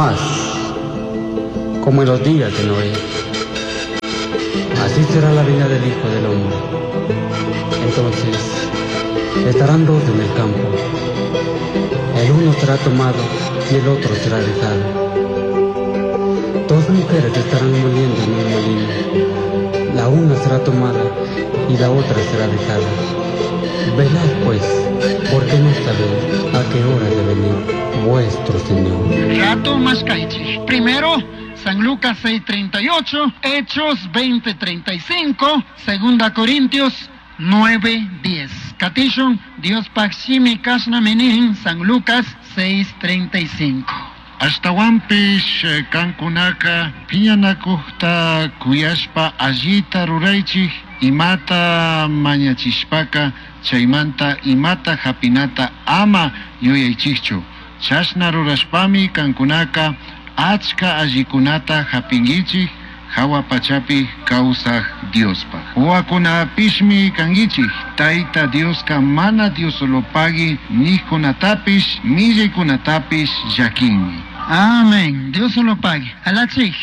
Mas, como en los días de Noé, así será la venida del Hijo del Hombre. Entonces estarán dos en el campo. El uno será tomado y el otro será dejado. Dos mujeres estarán moliendo en un molino. La una será tomada y la otra será dejada. Velad pues, porque no sabéis a qué hora de venir vuestro Señor. Rato mashkaychik. Primero, San Lucas 6:38, Hechos 20:35, Segunda Corintios 9:10. Katishun, Diospaj shimi kashnami nin, San Lucas 6:35. Ashtahuanpish cancunaca piñanacujta cuyashpa allita ruraichij, imata mañachishpaca chaimanta imata japinata ama yuyaichijchu. Chashna rurashpami cancunaca achca allicunata japinguichij, jahua pachapi causaj Diospaj. Huahuacunapishmi canguichij, Taita Diosca mana Diosolopagui nijcunatapish, millaicunatapish llaquinmi. Amén. Dios lo pague. Alachij.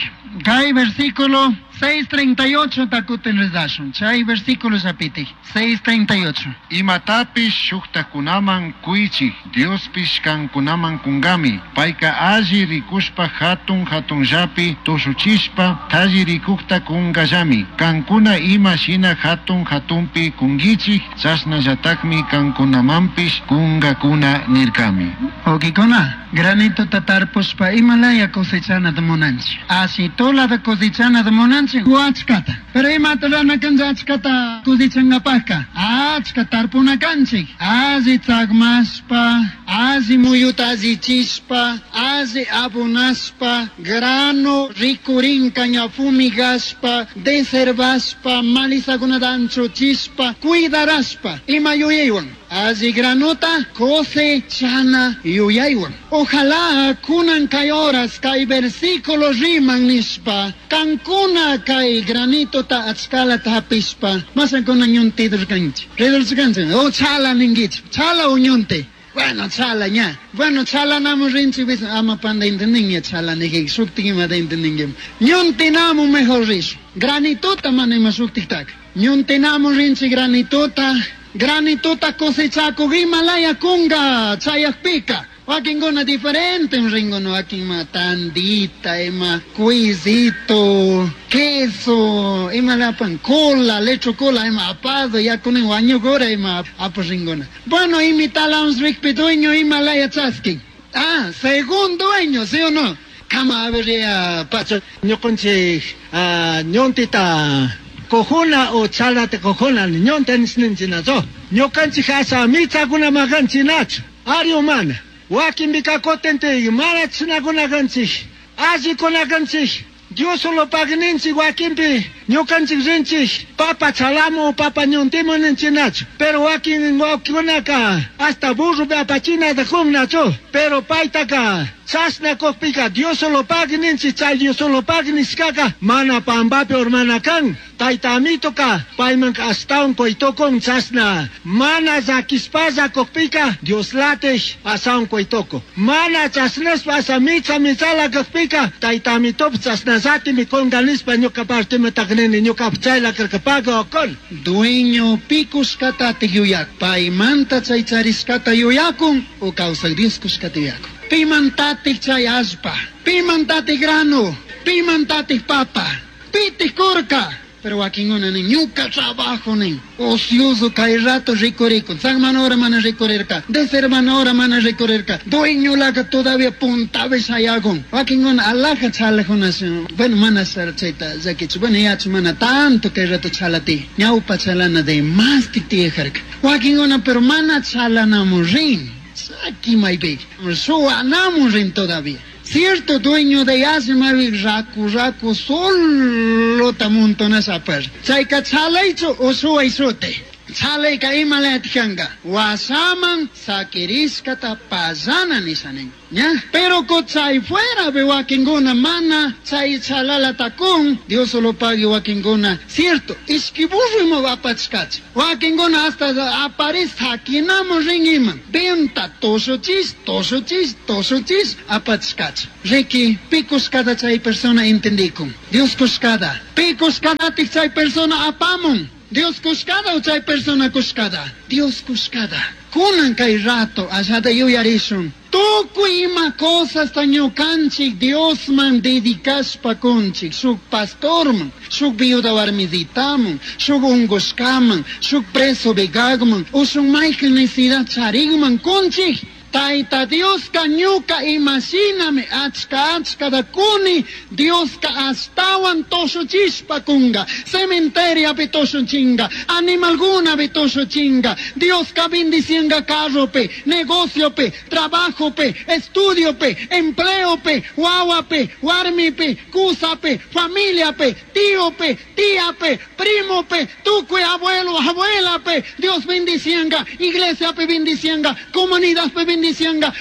Kay versículo 6:38 takutin rezashun. Chay versículo yapiti. 6:38. Imatapish shujtajcunaman cuichij, Diospish cancunaman cungami. Paica alli ricushpa jatun jatunllapi tushuchishpa talli ricujta cungallami. Cancuna ima shina jatun jatunpi cunguichij, chashnallatajmi cancunamanpish cungacuna nircami. Wawqikuna, granitota tarpushpa imalaya cosechanata munanchik. Ashitulata cosechanata munanchik o achkata. Pero imata rurana kanchik achkata cosechangapajka? Achka tarpuna kanchik. Alli tsakmashpa, alli muyuta allichishpa, alli abonashpa, grano rikurinka ña fumigashpa, deservashpa, malizakunata anchuchishpa, cuidarashpa, ima yuyaywan. Alli granota cosechana yuyaywan. Ojalá kunan kay horas kay versículo riman nishpa, kankuna kay granitota achkalata hapishpa, masakuna ñunti kanchik. Ridurkanchik, o chala ninguichik, chala o ñunti. Bueno, chala ña. Bueno, chalanamu rinchik bis ama panda entendinña chala nijik, shuktik imata entendinguim. Ñuntinamu mejor rish. Granitota mana ima shuktiktaka. Ñuntinamu rinchik granitota. Granitota cosechakuq imalaya kunga chayakpika. Wakinkuna diferente rinkuno, wakin ima tandita, ima cuisito, queso, ima lapan cola, lecho cola, ima apado, yakunin wañukura ima apu rinkuna. Bueno, imitalamos rikpi dueño imalaya chaskin. Ah, según dueño, ¿sí o no? Kama a pacha. Ñuqanchik ñuntita cojuna o chalata cojuna ñunta nisninchinachu. Ñuqanchik asa michakuna makanchinachu. Ari humana. Wakinpika kutintik mana chashnakunakanchik, allikunakanchik. Dios solo pagninchik wakinpi ñuqanchik rinchik papa chalamu papa ñuntimu ninchinachu. Pero wakin wawqikunaka hasta burropi apachinata kunnachu. Pero paytaka chashna kukpika Dios solo pagninchik, chay Dios solo pagnishkaka mana pampapi urmana kan. Tayta amitoka paymanka ashtawan quytukun chashna mana llakishpalla kukpika Dios latij ashawan quytukun. Mana chashnashpa asha micha michala kakpika tayta amitopish chashnallatimi kunga nishpa ñuka partimanta nini ñukapi chayla karka okon. Dueño pikushkatatik yuyak, paymanta chay charishkata yuyakun o kawsaq Dios kushkata yuyakun. Pimantatik chay allpa, pimantatik grano, pimantatik papa, pitik kurka. Pero wakinkuna nin, ñuka trabajo nin, ocioso kay rato rikurikun, San hora mana rikurirka, deservana hora mana rikurirka, dueño laka todavía puntapi shayakun. Wakinkuna alaja chalajuna, bueno, mana chayta llakichu, bueno, yachu mana tanto kay rato chalati, ñawpa chalana de más tiyajarka. Wakinkuna pero mana chalanamun rin, chaki maypi, suwanamun rin todavía. Cierto dueño de asma raku raku solo tamontonas apar. Chayka chalaychu o suway sute. Chalayka imalayatikanka wasaman sakirishkata pallana nisha nin. ¿Ya? Pero chay fuera be wakinkuna mana chay chalalata kun Dios solo pague wakinkuna. Cierto, ishki burro ima apachkachi. Wakinkuna hasta aparis sakinamo rin iman. Venta toshuchis, toshuchis, toshuchis apachkachi. Riki, pikushkata chay persona entendikun. Dios kushkata. Pikushkatatik chay persona apamun. Dios kushkata o chay persona kushkata. Dios kushkata. Kunan kay rato allata yuyarishun. Tukuy ima cosasta ñukanchik Diosman dedicashpa kunchik, shuk pastorman, shuk viuda warmisitaman, shuk ungushkaman, shuk preso vegagman, o shuk mayqin necesidad charigman kunchik. Tayta Dioska ñuka imashinami achka achkata kuni, Dioska ashtawan toshuchishpa kunga, cementeriapi toshuchinga, animalkunapi toshuchinga, Dioska bendicianga carropi, negociopi, trabajopi, estudiopi, empleopi, wawapi, warmipi, kusapi, familiapi, tiopi, tiapi, primopi, tukuy abuelo, abuelapi, Dios bendicianga, iglesiapi bendicianga, comunidadpi bendicianga,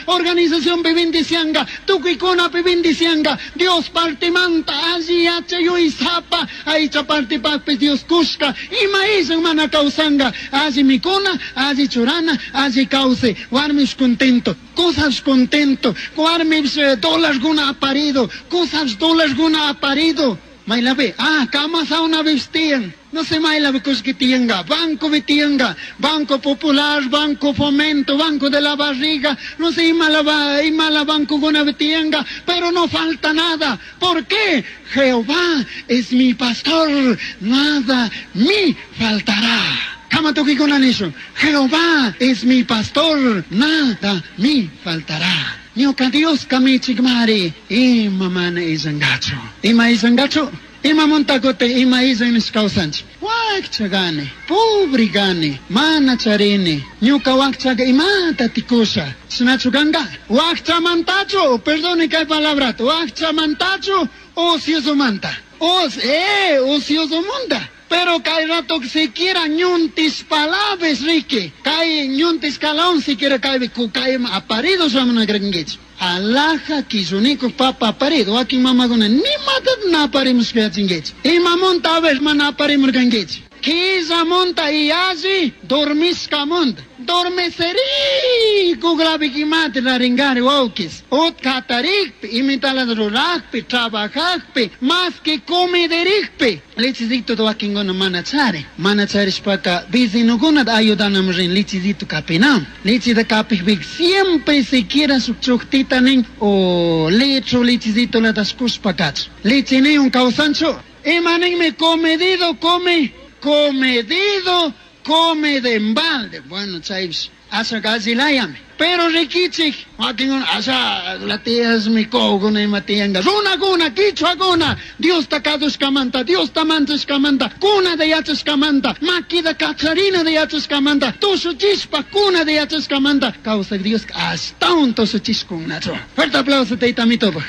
organización pi bendicianga, tukuykuna pi bendicianga, Dios partimanta, alli yachayuysapa, aycha partipaqpis Dios kushka, ima illan mana kawsanga, alli mikuna, alli churana, alli kawsay, warmish contento, cosas contento, warmish dólarkuna aparido, cosas dólarkuna aparido. Maylapi, kama sauna tiyan. No sé maylapi kushki tiyanka, banco vi tiyanka, Banco Popular, Banco Fomento, Banco de la Barriga, no sé imala, imala banco guna tiyanka, pero no falta nada. ¿Por qué? Jehová es mi pastor, nada me faltará. Kama tukikuna nishun, Jehová es mi pastor, nada me faltará. Ñuka Dios kamichikmari, ima mana illankachu. Ima illankachu? Ima montakote, ima illan nishkawsanchik. Wakcha gani, pobre gani, mana charini. Ñuka wakchaga imata tikusha. Chashnachu kanka? Wakchamantachu, perdone kay palabrata, wakchamantachu, ociosomanta. Ociosomanta. Pero kay rato siquiera ñuntis palabras, Ricky. Kay ñuntis calaón siquiera kay kukay aparido samana gringuich. Alaja kishuniku papa aparido. Aquí mamaguna ni mata na aparimos que chinguich. Y mamonta a ver mana aparimos ganguich. Kisa monta y así dormisca monta. Dormeceri kugrabikimati raringari wawkis. Ut katarikpi, imitalas rurajpi, trabajajpi, más que comederikpi. Lichizito wakinkuna mana chari. Mana charishpaka vecinokuna ayudanam rin lichizito kapinam. Lichita kapikpik siempre siquiera shuk chuktita nin o litro lichizito latas kushpa kach. Lichi ni un kawsanchu. Ima ninmi comedido come, comedido come de embalde. Bueno, chaypis, asha gallilayami. Pero rikichik, wakinkuna, asha la tiyas mi koguna ima tiyanka. Runakuna, kichwakuna, Diosta kadushkamanta, Diosta manchashkamanta, kuna de yachashkamanta, makida kacharina de yachashkamanta, tushuchishpa kuna de yachashkamanta, kawsak Dios ashtawan tushuchishkunachu. Fuerte aplauso, tayta mitopaj.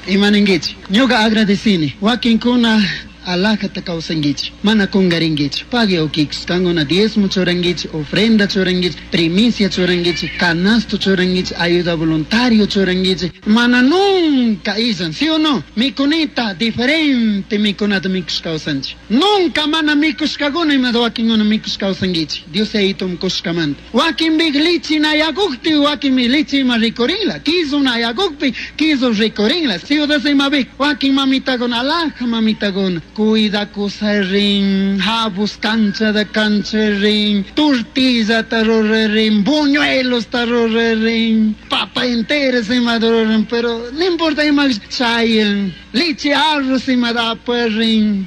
Ima ninkichik, ñuka agradecini, wakinkuna alajata kawsankichik, mana kungarinkichik, pagui ukichik, kankuna diezmo churankichik, ofrenda churankichik, primicia churankichik, canasto churankichik, ayuda voluntario churankichik, mana nunca illan, ¿sí o no? Mikunita, diferente mikunata mikush kawsanchik. Nunca mana mikushkakuna imata wakinkuna mikush kawsankichik. Dios yayitum kushkamanta. Wakinpik lichi nayakukpi, wakinmi lichi ima rikurinla, kisu nayakukpi, kisu rikurinla. Ciudad imapik, wakin mamitakuna, alaja mamitakuna. Cuida rin, jabus cancha de cancha rin, tortilla rin, buñuelos rin, papa entera se rin, pero no importa ima chayen, leche arroz ima da rin,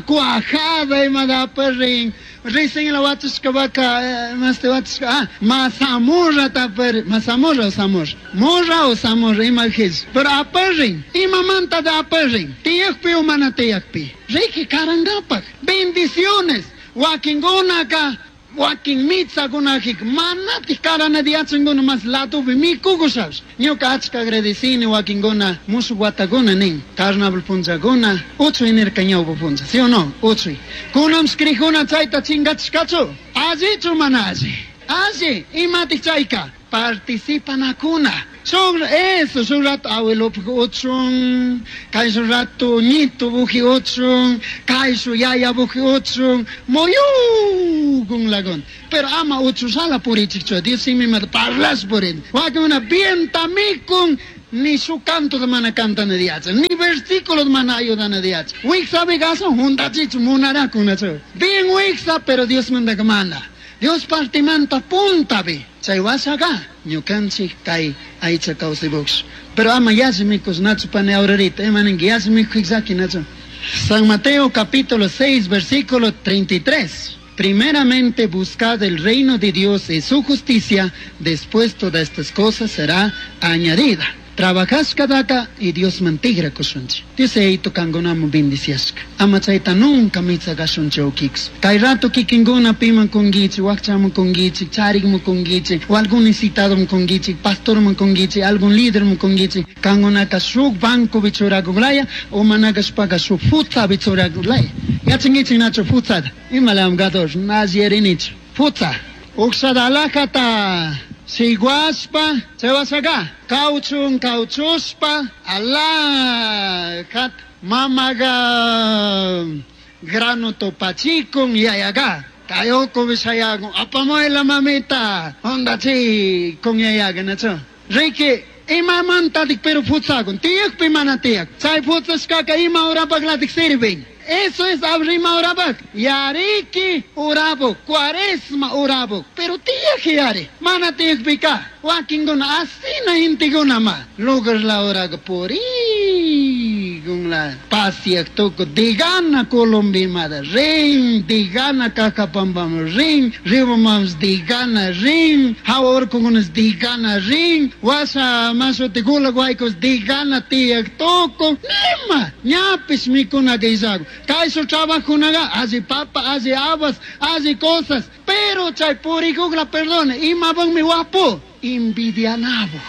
cuajada ima da rin, Recién la watushka vaca, más te watushka, mazamorra taper, mazamorra o zamorra, morra o zamorra, ima his, pero aperrin, ima manta de aperrin, tiyakpi o mana tiyakpi, Ricky karangapak, bendiciones, wakingunaka, Wakin mitzakunajik manatik karana diachanguna mas latupi mikukushash. Ñuka achka agradecini wakinkuna mushuq watakuna nin. Carnaval punllakuna uchuy nirka ñawpa punlla, ¿sí o no? Uchuy. Kunanpis crijuna chayta chingachishkachu? Allichu mana alli? Alli, imatik chayka? Participanakuna. Shuk eso, shuk rato abuelopuk uchun, kay shuk rato ñito buji uchun, kay shuk yaya buji uchun, muyukun lagun. Pero ama uchushala purichikchu, Dios simimanta parlash purin. Wakinkuna bienta mikun, ni su canto de mana cantana diacha, ni versículo de mana ayudana diacha. Wiksa bigaso, juntachichu munarakunachu. Bien wiksa, pero Dios manda que manda. Dios partimanta puntabi. Chay washaga, ñukanchik kay aycha kawsaypuksh. Pero ama yalli mikus nachu pani aurorita, ima ninki yalli mikuj llaki nachu. San Mateo capítulo 6, versículo 33. Primeramente buscad el reino de Dios y su justicia, después todas estas cosas será añadida. Trabajashkadaka y Dios mantigra kushunchi. Dios eito kangunamu bendiciashka. Ama chayta nunca mitzagashunchi ukiks. Kay rato kikinguna piman kungichi, wakchamu kungichi, charikmu kungichi, o algún necesitado kungichi, pastormu kungichi, algún líder kungichi. Kangunaka shuk banco bichurakuglaya, o managashpaka shuk futsa bichurakuglaya. Yachingichi nacho futsada. Imalam gador, nazierinicho. Futsa. Uksada alajata. Siguaspa, chewasaka, cauchun, cauchuspa, alajat, mamaga, grano topachicun, yayaga, kayoko bisayagun, apamuela mamita, onda chi, con yayaga, nacho. Ricky, imamanta dik pero futsagun, tiyak pimana tiyak, chay futsaskaka ima urapaglatik sirvin. Eso es abrima urabak. Yariki urabuk, cuaresma urabuk. Pero tía yari, mana tiyak pika. Wakinguna asina intiguna ma. Lugar la oraga puri la pasiak tuku digana Colombimada rin digana Cajabambam rin Ribamams digana rin Hawarkugunas digana rin Wasa masuti gulaguaykos digana tiyak tuku nima ñapis mikuna geisago. Kaysu trabajunaga alli papa, alli habas, alli cosas, pero chay purikugla perdone, imabanmi wapu envidianabo.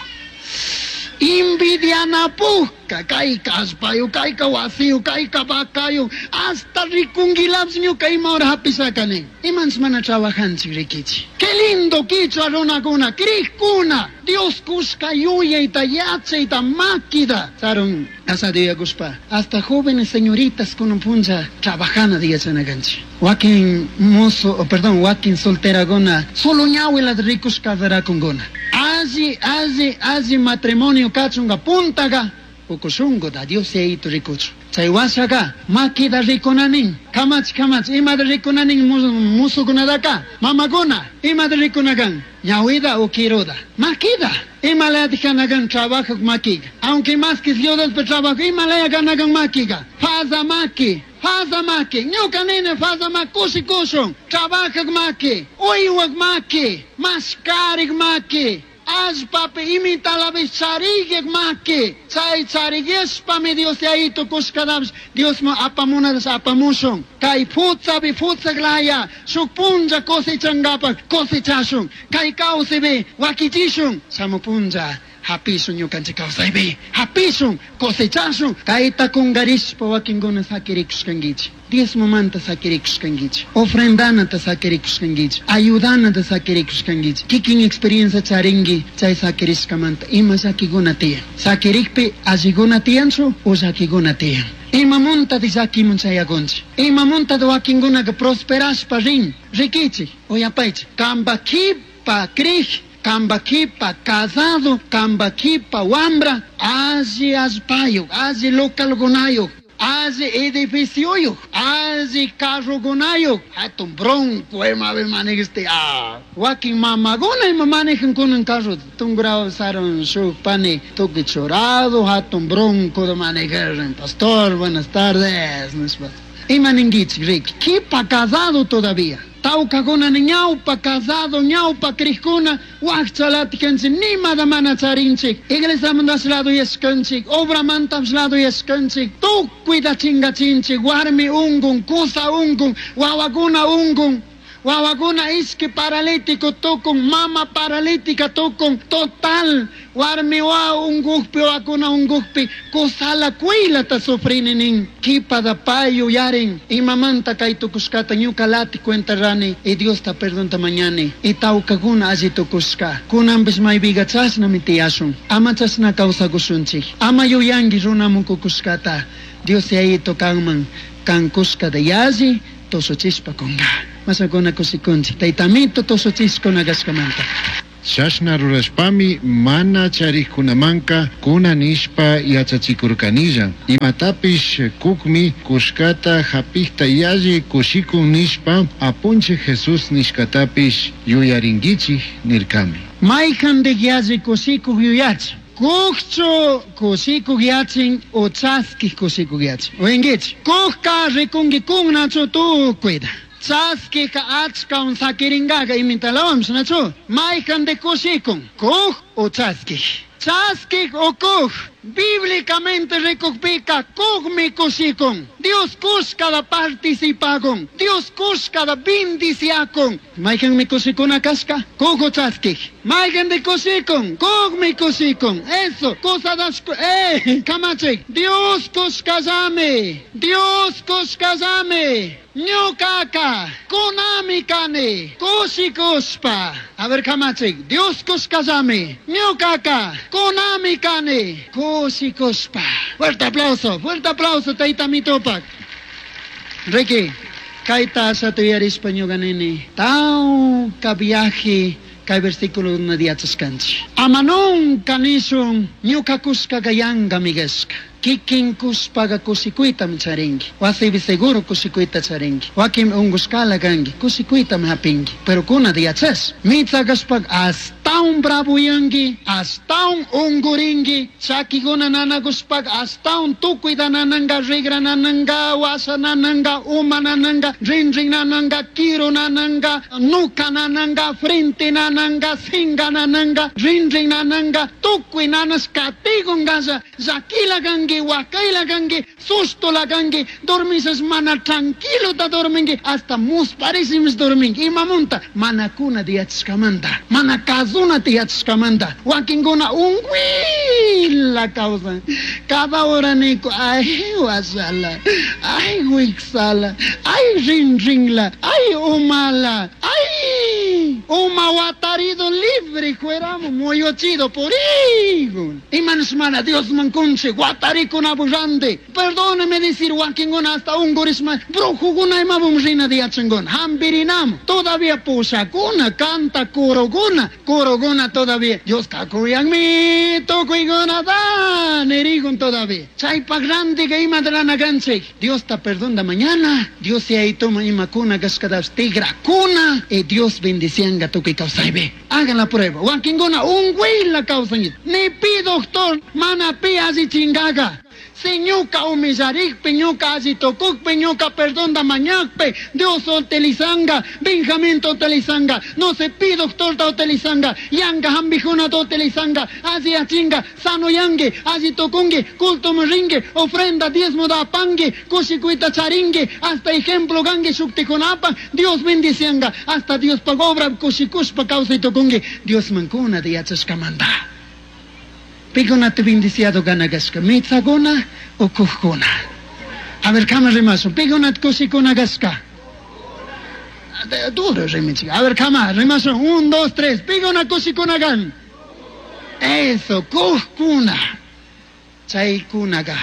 Envidianapujka, kayka allpayu, kayka wasiyu, kayka vacayu, hasta rikunguilapis ñuka ima hora hapisakani. Imanchis mana trabajanchik rikichi. Qué lindo quichua runakuna, crijkuna, Dios kushka yuyayta, yachayta, makida. Sarun, asadiyakushpa, hasta jóvenes señoritas kunan punlla trabajana diyachanakanchik. Wakin mozo, oh, perdón, wakin solteraguna, solo ñawila rikush casarakunguna. Alli, alli, alli matrimonio kachunga puntaga, ukushungo da Dios yayitu rikuchu. Chay washaga, makida rikunanin, kamach, kamach, imada rikunanin musukunadaka, mamaguna, imada rikunagan, ñawida o kiruda, makida, imalaya ganagan trabajo makiga, aunque más que Dios del trabajo, imalaya ganagan makiga, faza maki, faza maki, ñuka nene faza maki, kushi kushun, trabaja maki, uywak maki, maskarik maki, allpapi imitalapish chariyek maki, chay chariyeshpami Dios yayitu kushkadapish, Dios ma apamunadas apamushun, kay futsapi futsaklaya, shuk punlla cosechangapak cosechashun, kay kawsipi wakichishun, shamu punlla hapishun ñukanchik kawsaypi, hapishun, cosechashun, kayta kungarishpa wakinkuna sakirikushkankichik, diezmomanta sakirikushkankichik, ofrendanata sakirikushkankichik, ayudanata sakirikushkankichik, kikin experiencia charinki chay sakirishkamanta ima llakikuna tiyan, sakirikpi allikuna tiyanchu o llakikuna tiyan. Imamunta de llakimun chayakunchik, imamunta de wakinkunaka prosperashpa rin, rikichik, uyapaychik, kamba kipa krij, kamba kipa casado, kamba kipa wambra, alli allpayuk, alli localkunayuk, alli edificioyuk, alli carrokunayuk, hatun bronco imapi manejiste, ah, wakin mamaguna ima manejan kunan carro, tungrao saron shuk pani tukuy churado, hatun bronco de manejar, pastor, buenas tardes, nishpa. Ima ninkichik, Ricky, kipa casado todavía. Tawkakuna ñawpa casado, ñawpa crijkuna, wakchalatikanchik, nimada mana charinchik, iglesiamantash lado yashkanchik, obramantash lado yashkanchik, tukuyta chingachinchik, warmi ungun, kusa ungun, wawakuna ungun. Wawakuna ishki paralítico tukun, mama paralítica tukun, total warmi wawa unkukpi, wawakuna unkukpi, kusala kuylata sufrini nin. Kipada pay yuyarin, imamanta kay tukushkata ñuka lati cuenta rani, y Diosta perdonta mañani, y tawkakuna alli tukushka. Kunanpish maypiga chashnami tiyashun, ama chashna kawsakushunchik, ama yuyanki runamun kukushkata, Dios yayito kanman, kan kushkata yalli tushuchishpa kunga. Mashakuna kushikunchik, taytamito tushuchishkuna kashkamanta. Chashna rurashpami mana charikkunamanka kuna nishpa yachachikurkanilla. Imatapish kukmi kushkata hapikta yalli kushikun nishpa Apunchik Jesús nishkatapish yuyarinkichik nirkami. Maykandik yalli kushikuk yuyachin. Kukchu kushikuk yachin o chaskik kushikuk yachin. Uyankichik. Kukka rikunki kunnachu tukuyta. Chaskika achkawan sakirinkaqa imitalawanpish nachu. Maykandik kushikun. Kuk o chaskik. Chaskik o kuk. Bíblicamente rikukpika kukmi kushikun. Dios kushkada participakun. Dios kushkada bendiciakun. Maykanmi kushikuna kashka? Kuk o chaskik. Maykandik kushikun? Kukmi kushikun. Eso, kusadashku, kamachik. Dios kushkallami. Dios kushkallami. Ñukaka, kunami kani, kushikushpa. A ver, kamachik. Dios kushkallami. Ñukaka, kunami kani, kushikushpa. Fuerte aplauso, fuerte aplauso, tayta mitupak. Ricky, kayta ashata yuyarishpa ñuka nini. Tawka viaje, kay versículo una yachashkanchik. Ama nunca nishun ñuka kushkaka yankami kashka. Kikin kushpaga kushikuytami charinki. Wasipi seguro kushikuyta charinki. Wakin unkushkala kanki, kushikuytami hapinki. Pero kunata yachash. Mitsa kashpaka ashtawan bravoyanki, ashtawan unkurinki, chakikuna nanakushpaka ashtawan tukuyta nananka, rigra nananka, washa nananka, uma nananka, rinrin nananka, kiru nananka, nuka nananka, frente nananka, singa nananka, rinrin nananka, tukuy nanash katikun kasha, llakila kanki, wakayla kanki, sustola kanki, dormisas mana tranquilo ta dorminki, hasta musparisimis dorminki. Imamunta mana kuna tiyachishkamanta, mana kazuna tiyachishkamanta, wakinkuna unkuyla kawsan. Cada hora niku, ay wasala, ay wiksala, ay rinrinla, ay umala, ay uma watarido libre fuéramos moyochido por higo. Imanos mana Dios mankunche, watarikuna burrande. Perdóneme decir wakinkuna hasta un gurisma, brujuguna imabum rina de yachangona, hambirinamo. Todavía pushakuna, canta kuroguna, kuroguna todavía. Dios kakuyanmi, tukuyguna da, nerigun todavía. Chaypa grande que ima de la naganche. Dios te perdona mañana. Dios se ahí toma ima kuna gashkadas tigra kuna. Y Dios bendicianga tukuy kawsaybe. Hagan la prueba. Wakinkuna un la causa. Ni pi doctor, mana pi así chingaga. Si ñuka humillarikpi, ñuka alli tukukpi, ñuka perdonda mañakpi, Dios utilizanga, Benjamín utilizanga, no se pi doctor ta utilizanga, yanga hambijuna ta utilizanga, alli achinga, sano yangue, alli tukungue, culto ringue, ofrenda diezmo da pangue, kushikuita charingue, hasta ejemplo gangue shuktikunapa, Dios bendicianga, hasta Dios pagobra kushikushpa causa y tukungue, Dios mankuna de yachashkamanta. Pikunata bendiciado ganagashka, mitzaguna o kujkuna. A ver, kama rimasun, pikunata kushikuna gashka. Duro rimichica. A ver, kama rimasun, 1, 2, 3, pikuna kushikuna gan. Eso, kujkuna. Chaykunaga.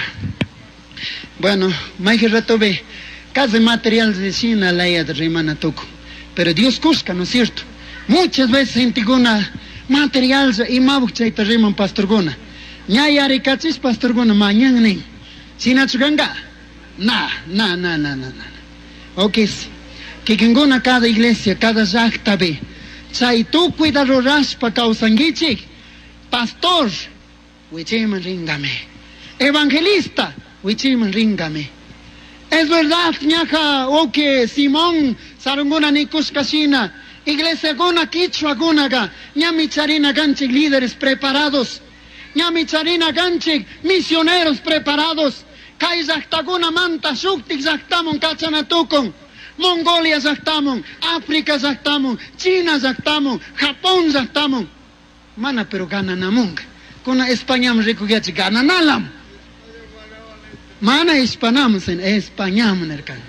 Bueno, mayje rato ve, casi material de China laya de rimana tuku. Pero Dios kushka, ¿no es cierto? Muchas veces intiguna material y mabuk chayta riman pastorguna. Ñayarikachis pastorguna mañana nin. Sinachuganga. Na, na, na, na, na, na. Ok. Kikinguna cada iglesia, cada llaqta ve. Chay tukuyta rurashpa kawsankichik. Pastor, wichiman ringame. Evangelista, wichiman ringame. Es verdad, ñaja, ok, Simón, sarunguna nikushkashina. Iglesia guna quichua gunaga, ñami charina ganchik líderes preparados, ñami charina ganchik misioneros preparados, kay llaqtakuna manta shuktik llaqtamun kachanatukun, Mongolia llaqtamun, África llaqtamun, China llaqtamun, Japón llaqtamun. Mana pero gananamunga. Kuna Españaman rikuyachi gananalam. Mana Hispanaman, sino Españaman nirkan.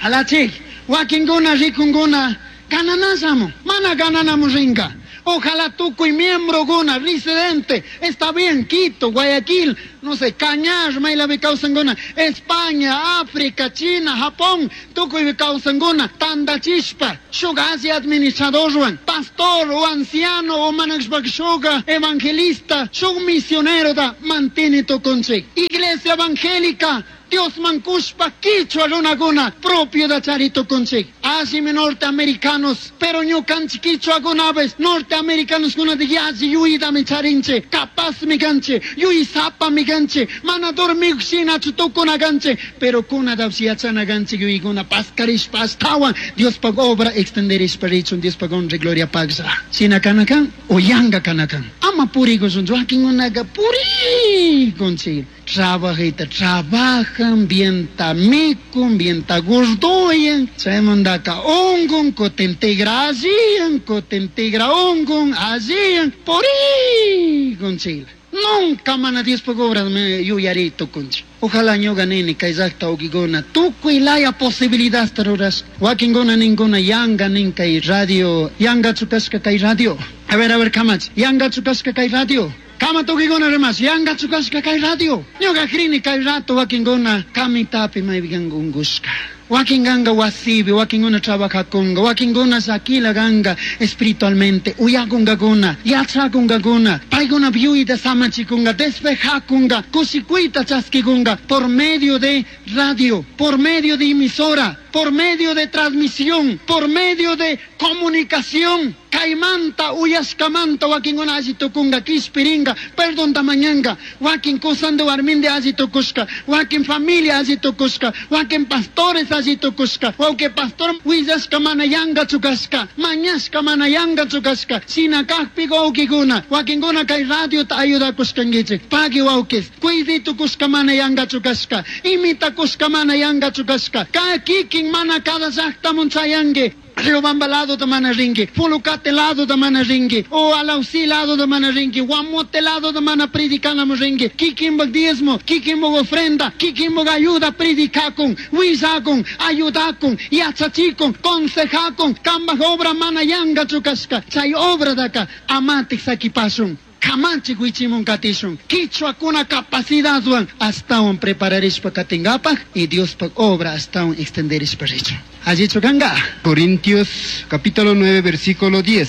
Alachik, wakinkuna rikunkuna gananallamun, mana gananamun ringa. Ojalá tukuy miembrokuna, residente, está bien, Quito, Guayaquil, no sé, Cañar, maylapi kawsankuna, España, África, China, Japón, tukuypi kawsankuna, tandachishpa, shuk alli administradorwan, pastor o anciano o manashpaka shuk evangelista, shuk misionerota manteni tukunchik. Iglesia evangélica, Diosman kushpa kichwa runakuna propiota chari tukunchik. Allimi norteamericanos, pero ñukanchik kichwakunapish norteamericanoskunata yalli yuytami charinchik, capazmi kanchik, yuysapami kanchik, mana dormik shinachu tukuna kanchik, pero kunatapish yachana kanchik yuykuna paskarishpa ashtawan Diospaj obra extenderishpa richun, Diospaj honra y gloria pagsa. Shina kana kan o yanga kana kan. Ama purikushunchu, wakinkunaka purikunchik. Trabajita, trabajan, bienta mikun, bienta gordoyan, chaymantaka ungun, kutin tigra alliyan, kutin tigra ungun, alliyan, purikunchik. Nunca mana Diospaj obra me yuyari tukunchik. Ojalá ñuka nini kay llaqta ukikuna tukuy laya posibilidadta rurash. Wakinkuna ninkuna yanga nin kay radio, yangachu kashka kay radio. A ver, kamach, yangachu kashka kay radio. Kama tukikuna rimash, yangachu kashka kay radio. Ñuka krini kay rato wakinkuna kamitapi maypikanka unkushka. Wakin ganga wasibi, wakinkuna trabajakunga, wakinkuna llakila ganga espiritualmente, uyakunkakuna, yachakunkakuna, paykuna yuyta samachikunga, despejakunga, kushikuyta chaskikunga, por medio de radio, por medio de emisora, por medio de transmisión, por medio de comunicación. Kaymanta, uyashkamanta, wakinkuna alli tukunga, kishpiringa, perdonta mañanga, wakin kusande warminde alli tukushka, wakin familia alli tukushka, wakin pastores alli tukushka, wawki pastor willashka mana yanga chukashka, mañashka mana yanga chukashka, shina kajpi wawkikuna, wakinkuna kay radiota ayudakushkankichik, pagui wawkis, kuydi tukushka mana yanga chukashka, imitakushka mana yanga chukashka, ka kikin mana cada llaqtamun chayanki. Riobamba lado da mana ringi, Pulucate lado da mana ringi, o Alausí lado da mana ringi, Guamote lado da mana predicana ringi, kikimbag diezmo, kikimbag ofrenda, kikimbag ayuda predicakun, wisakun, ayudakun, yachachikun, consejakun, kambaj obra mana yanga chukashka, chay obra daka amatik sakipasun. Kamanchik wichimun katishun, kichwakuna capacidadwan astawan prepararishpa katingapaj y Diospaj obra astawan extenderishpa richun. Allichu kanga. Corintios capítulo 9 versículo 10.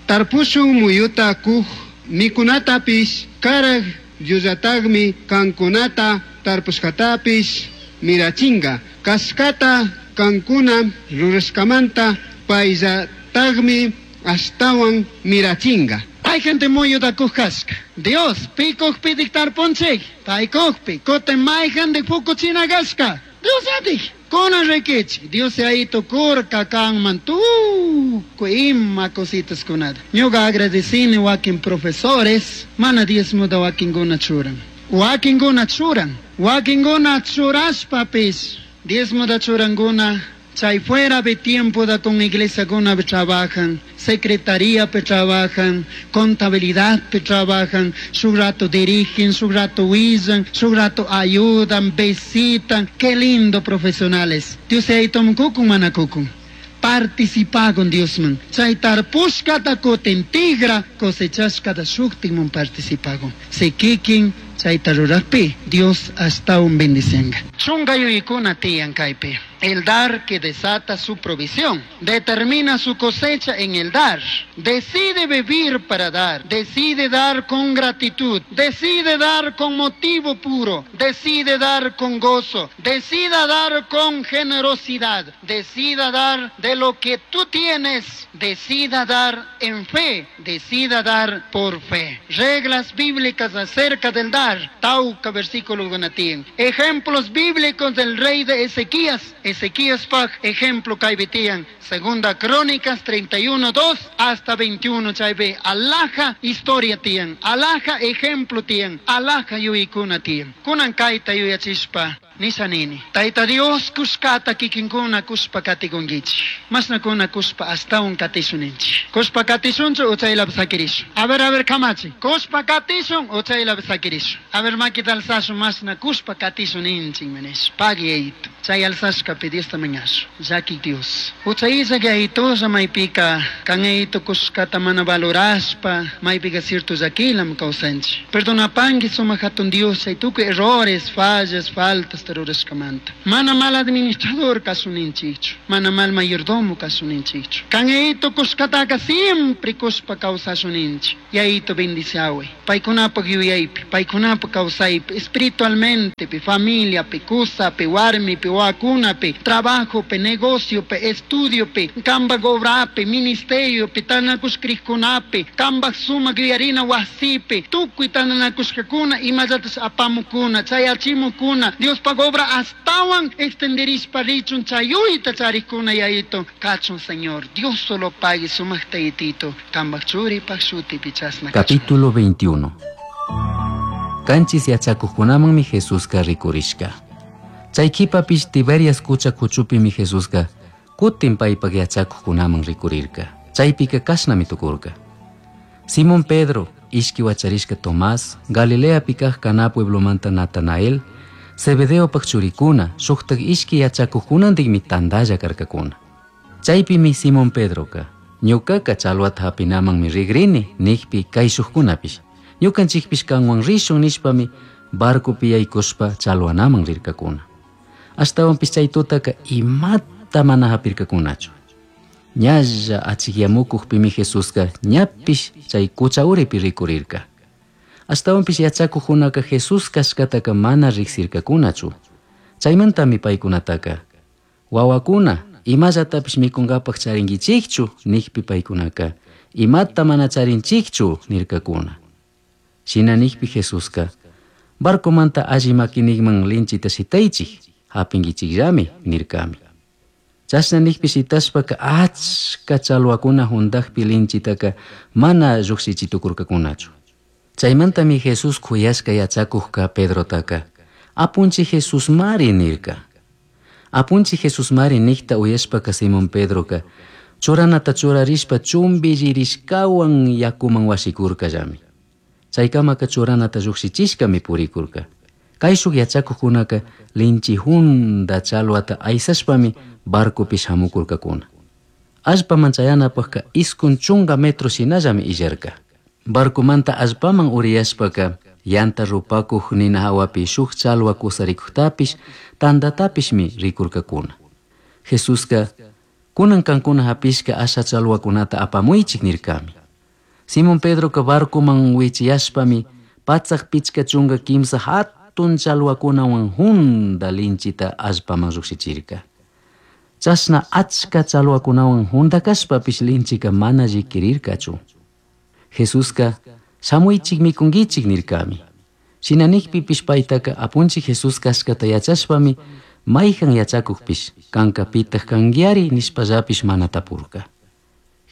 Tarpushun muyuta kuj mikunatapish karaj yullatagmi kankunata tarpushkatapish mirachinga. Kashkata kankuna rurashkamanta payllatagmi ashtawan mirachinga. Hay gente muy kashka. Dios, pikukpi dictarpunchik, paykukpi, kutin mayhan de pukuchina kashka. Dios atik, kunan rikichik, Dios ahí tukurka kanman tukuy ima cositas kunata. Ñuka agradecini wakin profesores, mana diezmuta wakinkuna churan. Wakinkuna churan, wakinkuna churashpapis, diezmuta churankuna. Chay fuera de tiempo da con iglesia kuna trabajan, secretaría pe trabajan, contabilidad pe trabajan, su rato dirigen, su rato huillan, su rato ayudan, visitan. Qué lindo profesionales. Dios ahí toma kukun manakukun. Participa con Dios man. Chay tarpushkata kutin tigra cosechashkata shuktimun participa con. Se kikin chayta rurajpi Dios hasta un bendicenga. Chunga yuyikuna tiyan kaypi. El dar que desata su provisión, determina su cosecha en el dar, decide vivir para dar, decide dar con gratitud, decide dar con motivo puro, decide dar con gozo, decida dar con generosidad, decida dar de lo que tú tienes, decida dar en fe, decida dar por fe. Reglas bíblicas acerca del dar, Tauca versículo gunatín. Ejemplos bíblicos del rey de Ezequías. Ezequías paj, ejemplo kaibitian. Segunda Crónicas 31, 2 hasta 21, chaybe. Alaja historia tian, alaja ejemplo tian, alaja yuyikuna tian. Kunan kaita yuyachispa. Nisha nini. Tayta Dios kushkata kikinkuna kushpa katikunkichik. Mashnakuna kushpa astawan katishun ninchik. Kushpa katishunchu o chaylapi sakirishun. A ver, a ver, kamachi. Kushpa katishun o chaylapi sakirishun. A ver, makita alzashun mashna kushpa katishun ninchik nish. Pagui yayito. Chay alzashkapi Diosta mañashun. Llaki Dios. Hucha illak yayitolla maypika kan yayito kushkata mana valorashpa maypika cierto llakilam kawsanchik. Perdonapanki sumak hatun Dios chay tukuy errores, fallas, faltas rurashkamanta. Mana mal administrador kasuninchikchu. Mana mal mayordomo kasuninchikchu. Kan yayito kushkataka siempre kushpa kawsashuninchik. Yayito bendiciaway. Paykunapaq yuyaypi, paykunapaq kawsaypi, espiritualmente, pi, familiapi, kusapi, warmipi, wawakunapi, trabajopi, negociopi, estudiopi, kanpak obrapi, ministeriopi, tantanakushka kanpak sumak yuyarina wasipi, tukuy tantanakushkakuna imallatash apamukuna, chayachimukuna, Diospaq obra astawan extenderishpa richun chayuyta charikuna yayito kachun Señor. Dios solo pague sumakta yaytito, kanpak churipak shutipi chasna kachun. Capítulo 21. Kanchis yachakuqkunamanmi Jesusqa rikurishka. Chay qhipapish Tiberias qucha kuchupimi Jesusqa kutin paypaq yachakuqkunaman rikurirka. Chaypika kashnami tukurka. Simón Pedro, ishki wacharishka Tomás, Galileapi kaq Caná pueblomanta Natanael, Zebedeopaq churikuna, shuqtaq ishki yachakuqkunantikmi tantalla karkakuna. Chaypimi Simón Pedroka, ñuqaqa challwata hapinamanmi rigrini niqpi kayshuqkunapish. Ñuqanchikpish kanwan rishun nishpami barcopi yaykushpa challwanaman rirkakuna. Ashtawanpish chay tutaka imata mana hapirkakunachu. Ñalla achikyamukuqpimi Jesusqa ñapish chay qucha uripi rikurirka. Ashtawanpish yachakuqkunaka Jesús kashkataka mana riqsirkakunachu. Chaymantami paykunataka wawakuna imallatapish mikunkapaq charinkichikchu niqpi paykunaka imata mana charinchikchu nirkakuna. Shina niqpi Jesusqa barcomanta alli makiniqman linchita shitaychik hapinkichikllami nirkami. Chashna niqpi shitashpaka achka challwakuna hundaqpi linchitaka mana lluqshichitukurkakunachu. Chaymantami Jesús kuyashka yachakuqka Pedrotaka Apunchik Jesusmari nirka. Apunchik Jesusmari niqta uyashpaka Simón Pedroka churanata churarishpa chumbillirishkawan yakuman washikurkallami. Chaykamaka churanata lluqshichishkami purikurka. Kayshuk yachakuqkunaka linchi hunda challwata aysashpami barcopi shamukurkakuna. Allpaman chayanapaqka 90 metro shinallami illarka. Barcomanta allpaman uriyashpaka yanta rupakuq nina hawapi shuk challwa kusarikuqtapish tantatapishmi rikurkakuna. Jesusqa kunan kankuna hapishka asha challwakunata apamuychik nirkami. Simón Pedroka barcoman wichiyashpami 153 hatun challwakunawan hunda linchita allpaman lluqshichirka. Chashna achka challwakunawan hunda kashpapish linchika mana llikirirkachu. Jesusqa shamuychik mikunkichik nirkami. Shina niqpipish paytaka apunchik Jesús kashkata yachashpami mayjan yachakuqpish kanka pitaq kankiari nishpallapish mana tapurka.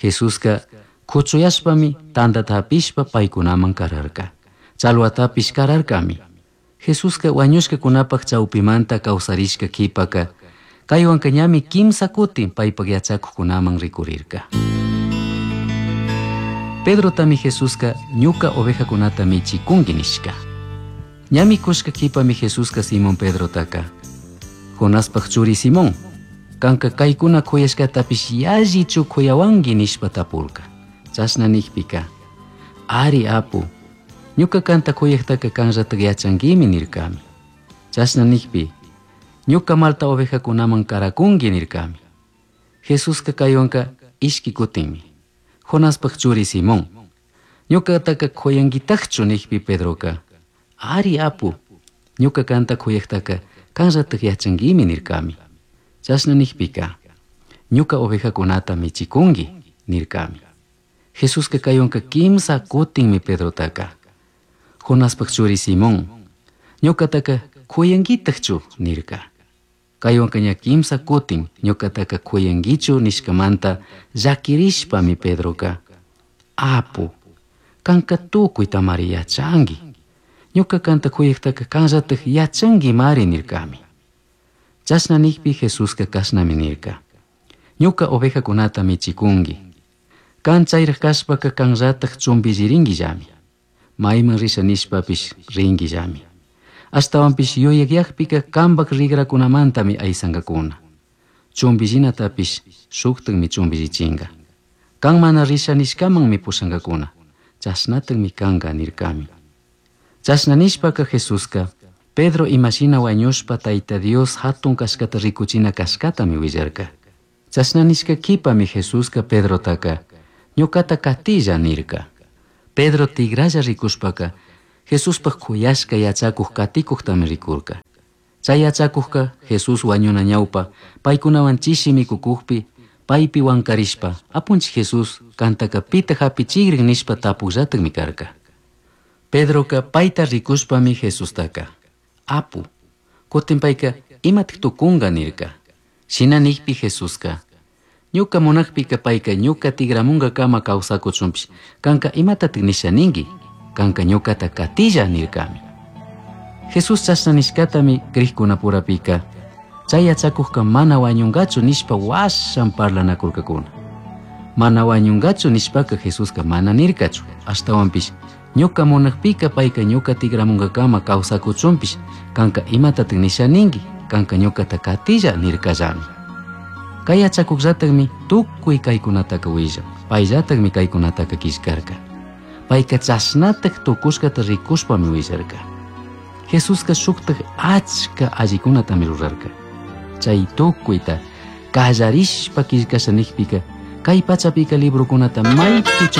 Jesusqa kuchuyashpami tantata hapishpa paykunaman kararka. Challwatapish kararkami. Jesusqa wañushkakunapaq chawpimanta kawsarishka qhipaka kaywanka ñami kimsa kutin paypaq yachakuqkunaman rikurirka. Pedrotami Jesusqa ñuka ovejakunata michikunki nishka. Ñami kushka qhipami Jesusqa Simón Pedrotaka Jonaspaq churi Simón, kanka kaykuna kuyashkatapish yallichu kuyawanki nishpa tapurka. Chashna niqpika ari apu, ñuka kanta kuyaqtaka kanllatak yachankimi nirkami. Chashna niqpi ñuka malta ovejakunaman karakunki nirkami. Jesusqa kaywanka ishki kutinmi. Jonaspaq churi Simón, ñuqataka kuyankitaqchu niqpi Pedroka ari apu, ñuka kanta kuyaqtaka kanllatak yachankimi nirkami. Chashna niqpika ñuka ovejakunata michikunki nirkami. Jesusqa kaywanka kimsa kutinmi Pedrotaka Jonaspaq churi Simón, ñuqataka kuyankitaqchu nirka. Kaywanka ña kimsa kutin ñuqataka kuyankichu nishkamanta llakirishpami Pedroka apu, kanka tukuytamari yachanki. Ñuka kanta kuyaqtaka kanllatak yachankimari nirkami. Chashna nijpi Jesusca cashnami nirca. Ñuca ovejacunata michicungui. Can chayraj cashpaca canllataj chumbilliringuillami. Maiman risha nishpapish ringuillami. Ashtahuanpish yuyakyajpica cambaj rigracunamantami aysankakuna. Chumbillinatapish shuktakmi chumbillichinga. Can mana risha nishkamanmi pushankakuna. Chashnatakmi kanka nirkami. Chashna nishpaka Jesuska Pedro imashina wañushpa Tayta Dios hatun kashkata rikuchina kashkatami willarka. Chashna nishka kipami Jesuska Pedrotaka ñukata katilla nirka. Pedro tigralla rikushpaka Jesuspaj kuyashka yachakuj katikuktami rikurka. Chay yachakujka Jesús wañuna ñawpa paykunawan chishi mikukukpi paypi wankarishpa apunchik Jesús kantaka pita hapichikrin nishpa tapukllatakmi karka. Pedroka payta rikushpami Jesustaka apu kutin payka imatak tukunka nirka. Shina nikpi Jesuska ñuka munakpika payka ñuka tigramunkakama kawsakuchunpish kanka imatatak nisha ninki kanka ñukata katilla nirkami. Jesús chashna nishkatami krikkunapurapika chay yachakujka mana wañunkachu nishpa washan parlanakurkakuna. Mana wañunkachu nishpaka Jesuska mana nirkachu ashtawanpish ñuka munakpika payka ñuka tigramunkakama kawsakuchunpish kanka imatatak nisha ninki kanka ñukata katilla nirkallami. Kay yachakukllatakmi tukuy kaykunataka willan payllatakmi kaykunataka killkarka. Payka chashnatak tukushkata rikushpami willarka. Jesuska shuktak achka allikunatami rurarka. Chay tukuyta kallarishpa killkasha nikpika kay pachapika librokunata maypi.